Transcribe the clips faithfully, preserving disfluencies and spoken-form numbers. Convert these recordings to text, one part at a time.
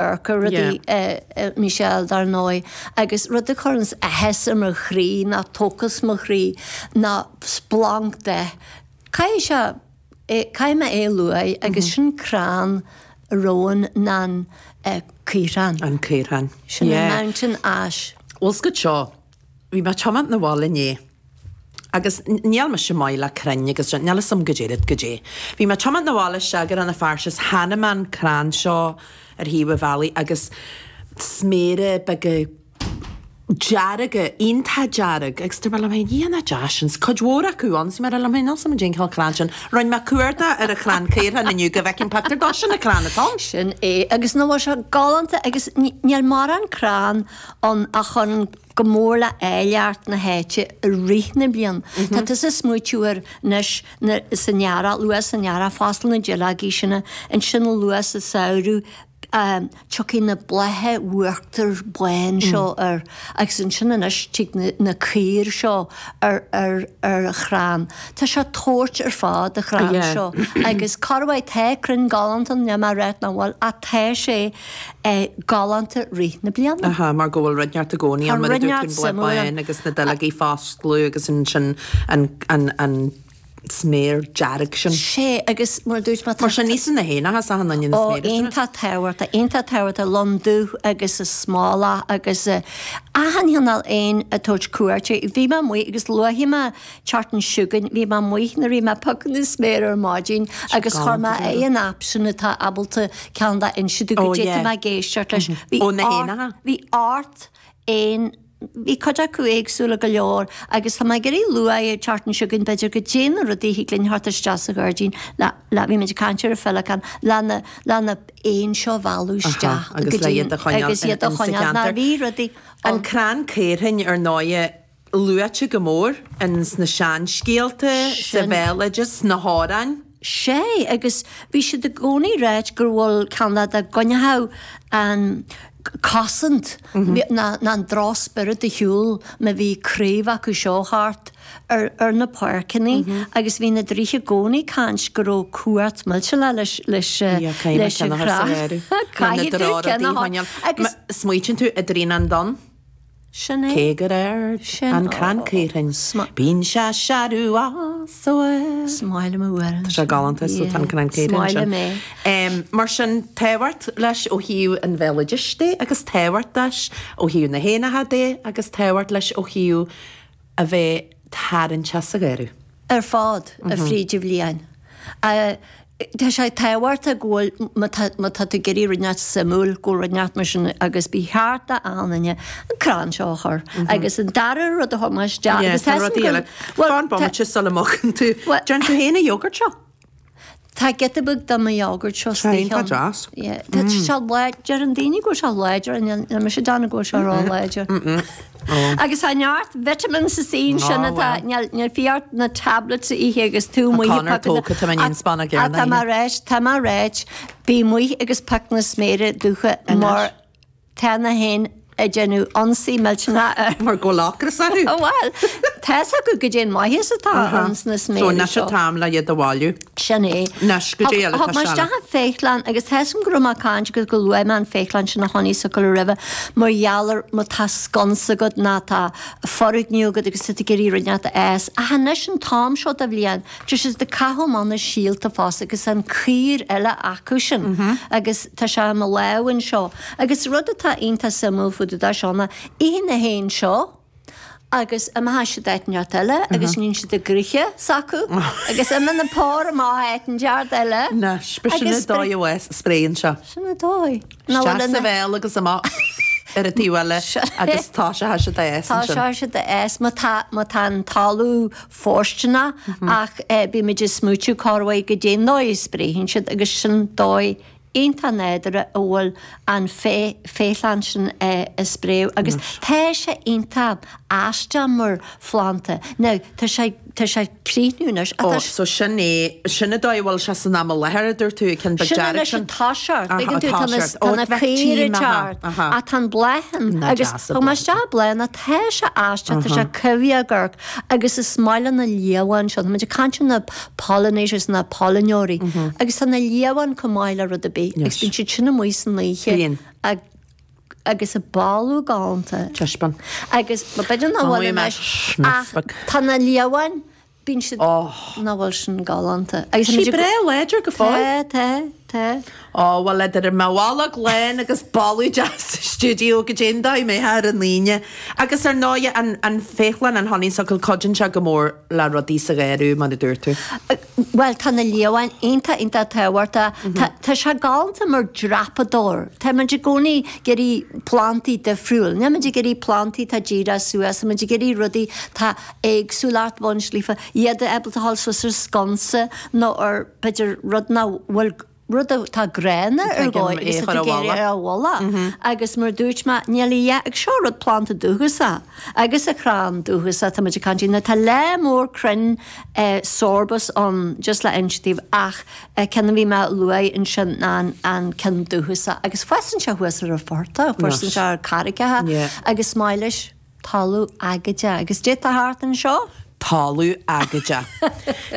amharc ar rudaí, Michelle, dar ndóigh, agus rud a chuireanns áthas ar mo chroí ná tóchas mo chroí ná splanc de. Caithfidh sé, caithfidh mé é a luaigh agus sin crann romhainn ná an caorthann. An caorthann. Sin an mountain ash. Bhfuil 's agat seo, bhí mé ag tiomáint 'na bhaile inné agus níl mise maith le crainn agus níl 'fhios a'm goidé rud goidé. Bhí mé ag tiomáint 'na bhaile isteach go Rann na Feirste is chonaic mé an crann seo ar thaobh an bhealaigh agus sméara beaga dearga, iontach dearg agus dúirt mé liom féin, Dhia nach deas sin, 's cuid mhór acu ann, 's mé ag rá liom féin, níl 's a'm goidé an cineál crann sin. Rinne mé cuardach ar an chrann caorthainn inniu go bhfeicfinn pictiúr dó, sin an crann atá ann. Sin é, agus nach bhfuil sé galánta agus níl mórán crann ann a chuireann go mór le áilleacht na háite i rith na bliana. Tá tusa ag smaoitiú ar anois san earrach, luath san earrach, foscladh na duilleogaí sin, ansin luath sa samhradh, tiocfaidh na blátha uachtar bán seo air agus ansin anois tig na caoir seo ar ar ar chrann. Tá sé ag tabhairt ar fad an chrann seo agus corruair tá crainn galánta ann, níl mé ag ráit nach bhfuil, ach tá sé galánta rith na bliana. Aha, mar go bhfuil rud inteacht i gcónaí ann mar a dúirt tú, an bláth bán agus na duilleogaí ag foscladh agus ansin an an an sméar dearg sin. Sé, agus mar a dúirt mé, tá. Mar sin, íosann na héanacha is achan duine na Ó, sméara sin. iontach tábhachtach, iontach tábhachtach, lon dubh agus an smólach agus achan chineál éin ag tabhairt cuairte. Bhí mé amuigh agus luafaidh mé an tseachtain seo chugainn, bhí mé amuigh nuair a bhí mé ag piocadh na sméar ar maidin agus chuir mé ar an app sin atá ábalta ceann dá inse domh Ó, goidé yeah. tá mé ag éisteacht leis. Bhí Ó, na ort, héanacha. bhí ort éin Bhí cuid acu éagsúla go leor agus tá mé ag iarraidh lua an tseachtain seo chugainn b'fhéidir goidé na rudaí a thig linn theacht isteach sa ghairdín le, le, bhí muid ag caint ar an féileacán, le na, le na éin seo a mhealladh isteach Aha, agus go le dtí iad a choinneáil agus in, iad a in sa choinneáil. Ná cheantar. bhí rudaí An ann. crann caorthainn ar ndóighe luaite go mór in sna seanscéalta, sa Sin. bhéaloideas, sna hamhráin. Sé, agus bhí siad i gcónaí ráit gur bhfuil ceann dá gcoinneochadh an cosaint ná an drochspiorad ar shiúl má bhí craobh acu seo thart ar ar na páirceanna agus bhí na draoithe i gcónaí ag caint go raibh cumhacht millteanach leis leis leis an chrann. Caithfidh tú ceann a choinneáil. Agus. Smaoitíonn tú i dTraonán Donn? Sin é. Cé gur ard Sin an crann caorthainn, bíonn sé searbh as a bharr. Is maith liom an amhrán Tá sé sin. galánta, so tá an Yeah. crann Is caorthainn maith sin. liom é. Mar sin, tábhacht leis ó thaobh an bhéaloidis de agus tábhacht leis ó thaobh na héanacha de agus tábhacht leis ó thaobh a bheith tarraingteach sa gharradh. Ar fad fríd an bhliain. Tá sé tábhachtach go bhfuil, má tá, má tá tú ag iarraidh rud inteacht suimiúil, go bhfuil rud inteacht mar sin agus ba cheart d'achan duine an crann seo a chur. Agus an dara rud a thug mé isteach, Yeah, agus tá tá rudaí go eile. bhfuil, Fan tá, bomaite sula mbogann tú. bhuel, Déan tú féin an yogurt seo? Tá giota beag de mo yogurt seo Tá istigh iontach ann. deas. Yeah, tá sé láidir, deireann daoine go bhfuil sé láidir, níl níl mise ag déanamh go bhfuil sé ró-láidir. Agus tá neart vitamins sa saoin sin Á, atá, bhuel. níl, níl fiú ort na tablets a ithe agus tú Tá amuigh ag Conor piocadh na, tógtha, tá mé in spána ach tá mé ráit, tá mé ráit, bí amuigh agus pioc na sméara dubha mar tá na héin ag déanamh ionsaí millteanach ar. Mar go bhfuil ocras orthu. Bhuel, tá's acu goidé an maitheas atá ins na So sméara anois seo. an t-am le iad a bhailiú. Sin é. Anois, goidé eile Thug atá mé seal. isteach an féithleann agus tá's agam go raibh mé ag caint agus go luaigh mé an féithleann sin a chonaic socair roimhe mar gheall ar má tá sconsa agat ná tá foirgneamh agat agus tá tú ag iarraidh rud inteacht a fhás. Ach anois an t-am seo de bhliain, tá siad ag caitheamh amach na síolta fosta agus an caor eile acu sin agus tá sé i mo lámh anseo. Agus rud atá iontach suimiúil fá dtaobh de seo ná itheann na héin seo agus imeoidh siad áit inteacht eile agus níonn siad a gcroíthe s'acu agus imíonn an pór amach áit inteacht eile Anois, b'shin agus an dóigh a bhfuil spréann seo. Sin an dóigh. Ná Isteach bhfuil sa ina bhéal agus amach ar an taobh eile agus tá sé thar siad a fhás Tá ansin. sé siad a fhás má tá má tá an talamh fóirsteanach ach bímid ag smaoitiú corruair goidé an dóigh a spréann siad agus sin dóigh iontach nádúrtha a bhfuil an féithleann sin ag spréadh agus tá sé iontach aisteach mar phlanda. Now, tá sé, tá sé ag críochnú anois ach Ó, tá so sin é, sin an dóigh a bhfuil sé san am i láthair, a dúirt tú, an ceann beag Sin dearg anois sin. an toiseacht, Aha, tuigeann an tú, tá na, toiseacht. tá Ó, na bheadh caora tím, aha, teart aha. ach tá an bláth ann Ná agus deas an thug mé bláth. isteach bláth ná tá sé aisteach, tá sé coimhthíoch ag amharc agus is maith le na liamháin seo, tá muid ag caint ar na pollinators, na pailneoirí, agus tá na liamháin chomh maith le rud ar bith agus bíonn siad sin amuigh san oíche. Bíonn. Agus a boladh galánta. Taispeáin. Agus b'fhéidir nach bhfuil anois ach tá na liamháin, bíonn siad, nach bhfuil sin galánta. Agus tá sí breá láidir go fóill. Tá, tá, tá. Ó, bhuel, idir mo bholg lán agus boladh deas sa stiúideo go dtí an dóigh mé ar an Aoine. Agus ar ndóigh, an, an féithleann, an honeysuckle, cuidíonn sé go mór le rudaí sa gharradh, mar a dúirt tú. Bhuel, tá na liamháin iontach, iontach tábhachtach. Tá, tá sé galánta mar dreapadóir. Tá muid i gcónaí ag iarraidh plantaí difriúil. Níl muid ag iarraidh plantaí atá díreach suas, tá muid ag iarraidh rudaí tá éagsúlacht baint líofa, iad ábalta a dhul suas ar sconsa nó ar, b'fhéidir, rud nach bhfuil, rud atá gránna ar dhóigh agus atá ag iarraidh ar a mhullach. Agus mar a dúirt mé, níl a dhath ag seo rud planda dúchasach agus a chrann dúchasach tá muid ag caint faoi. Tá lear mór crainn sorbus ann just le inse daoibh ach ceann a bhí mé a lua ansin ná an ceann dúchasach agus fásann sé thuas ar an phortach, fásann sé ar carraigeacha agus maith leis. Talamh aigéadach. Agus cad é atá thart anseo? Talamh aigéadach.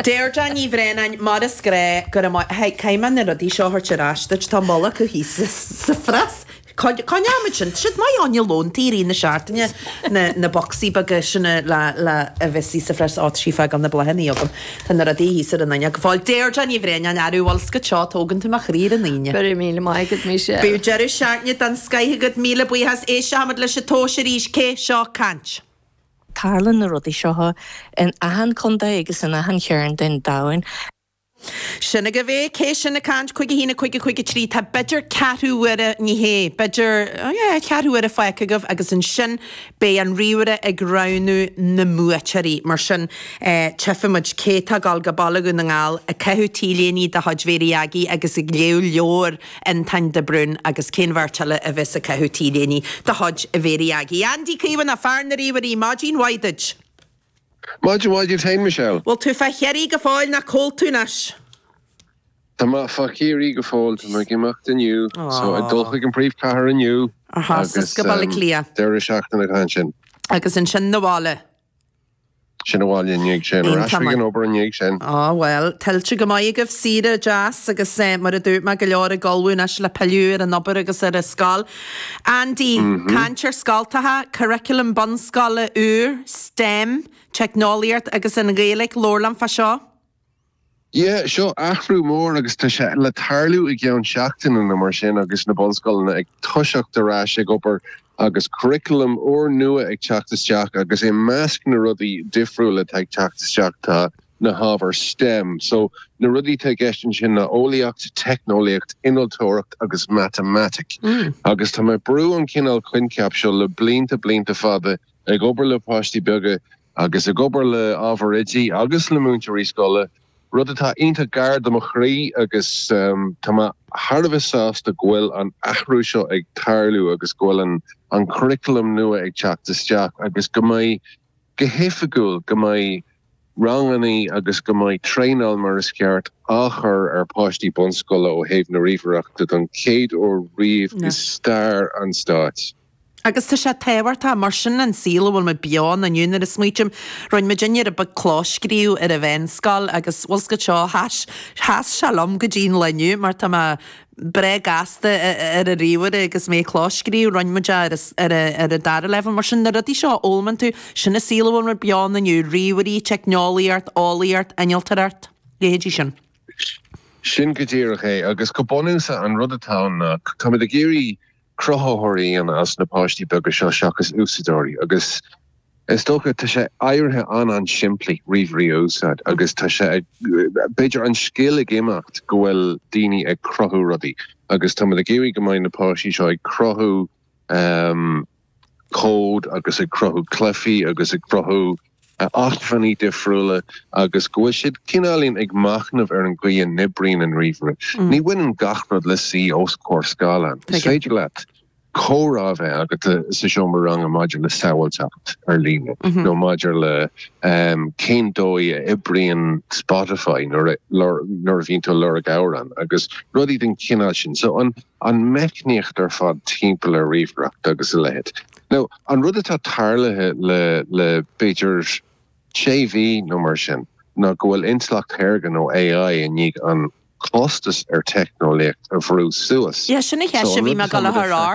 Deirdre Ní Bhraonáin, mar is gnách, go raibh maith, caithfidh mé na rudaí seo a thabhairt ar ais duit, tá moll acu thíos sa phreas. Coinneoimid sin, tá siad maith fá choinne lóntaí i rith na seachtaine, na na bocsaí beaga sin le le a bheith thíos sa phreas, á tá sí ag fágáil na bláthanna agam, tá na rudaí thíos ar an fhuinneog. Fáil Deirdre Ní Bhraonáin, arú bhfuil 's agat seo, tógann tú mo chroí ar an Aoine. Go raibh míle maith agat, Michelle. Bíodh deireadh seachtaine den scoith agat, míle buíochas. Éistfimid leis an tomhas arís, cé seo ag caint? Tarlaíonn na rudaí seo in achan contae agus in achan chearn den domhan. Sin agaibh é, cé sin ag caint? Cúig a haon, a cúig, a cúig a trí, tá b'fhéidir ceathrú uaire, ní hé, b'fhéidir, yeah, ceathrú uaire fágtha agaibh agus ansin beidh an ríomhaire ag roghnú na mbuaiteoirí. Mar sin, tchífimid cé atá ag dul go Baile Dhún na nGall ag caitheamh T-léine de chuid Mhéirí Aggie agus ag léamh leabhar Fhionntáin de Brún agus cén bheirt eile a bheas ag caitheamh T-léine de chuid Mhéirí Aggie. Andy Caomhánach, fear na ríomhairí, maidin mhaith duit! Maidin mhaith duit féin, Michelle. Bhfuil tú fá Chiarraí go fóill nó cá bhfuil tú anois? Tá mé fá Chiarraí go fóill, tá mé ag imeacht inniu, so ag dul chuig an príomhchathair inniu agus go Baile Átha Cliath. Deireadh seachtaine atá ansin. Agus ansin 'na bhaile. Sin abhaile i ndiaidh sin, ar ais chuig an obair i ndiaidh sin. Á bhuel, tuillte go maith agaibh, saoire deas agus mar a dúirt mé, go leor ag ullmhú anois le pilleadh ar an obair agus ar an scoil. Andy, caint ar scoltacha, curriculum bunscoile úr, STEM, teicneolaíocht agus an Ghaeilge, labhair liom fá seo. Yeah, seo athrú mór agus tá sé le tarlú i gceann seachtaine nó mar sin agus na bunscoileanna ag toiseacht ar ais ag obair agus curriculum úrnua ag teacht isteach agus i measc na rudaí difriúla atá ag teacht isteach tá na hábhair STEM. So na rudaí atá i gceist ansin ná eolaíocht, teicneolaíocht, innealtóireacht agus matamaitic. Agus tá mé ag brú an cineál coincheap seo le blianta blianta fada ag obair le páistí beaga agus ag obair le ábhair oidí agus le múinteoirí scoile, rud atá iontach gar do mo chroí agus tá mé thar a bheith sásta go bhfuil an athrú seo ag tarlú agus go bhfuil an an curriculum nua ag teacht isteach agus go mbeidh, go hoifigiúil, go mbeidh rangannaí agus go mbeidh traenáil mar is ceart á chur ar pháistí bunscoile ó thaobh na ríomhaireachta don chéad uair riamh i stair an stáit. Agus tá sé tábhachtach, mar sin an saol a bhfuil muid beo ann inniu. Nuair a smaoitím, rinne muidinne rud beag clóscríobh ar an mheánscoil agus bhfuil 's agat seo, sheas, sheas sé liom go dtí an lá inniu mar tá mé breá gasta ar an ríomhaire agus mé ag clóscríobh, rinne muid é ar ar ar an dara leibhéal. Mar sin na rudaí seo a fhoghlaimíonn tú, sin an saol a bhfuil muid beo ann inniu, ríomhairí, teicneolaíocht, eolaíocht, innealtóireacht, leithéidí sin. Sin go díreach é agus go bunúsach an rud atá ann ná táimid ag iarraidh cruthaitheoirí a dhéanamh as na páistí beaga seo seachas úsáideoirí agus is dócha tá sé éirithe an-an-simplí ríomhairí a úsáid agus tá sé ag, b'fhéidir an scil ag imeacht go bhfuil daoine ag cruthú rudaí agus táimid ag iarraidh go mbeidh na páistí seo ag cruthú cód agus ag cruthú cluichí agus ag cruthú acmhainní difriúla agus go bhfuil siad cineáilín ag machnamh ar an gcaoi a n-oibríonn an ríomhaire. Ní bhaineann gach rud le suí os comhair scáileáin. Is féidir leat comhrá a bheith agat sa seomra ranga maidir le sábháilteacht ar líne nó maidir le cén dóigh a oibríonn Spotify nuair a bhíonn tú ag lorg amhrán agus rudaí den chineál sin. So an meicníocht ar fad timpeall ar ríomhaireacht agus a leithéid. Now, an rud atá tarlaithe le, le b'fhéidir sé mhí nó mar sin, ná go bhfuil intleacht shaorga nó AI i ndiaidh an costas ar teicneolaíocht a bhrú suas. Ja sin a cheist a bhí mé ag gabháil a chur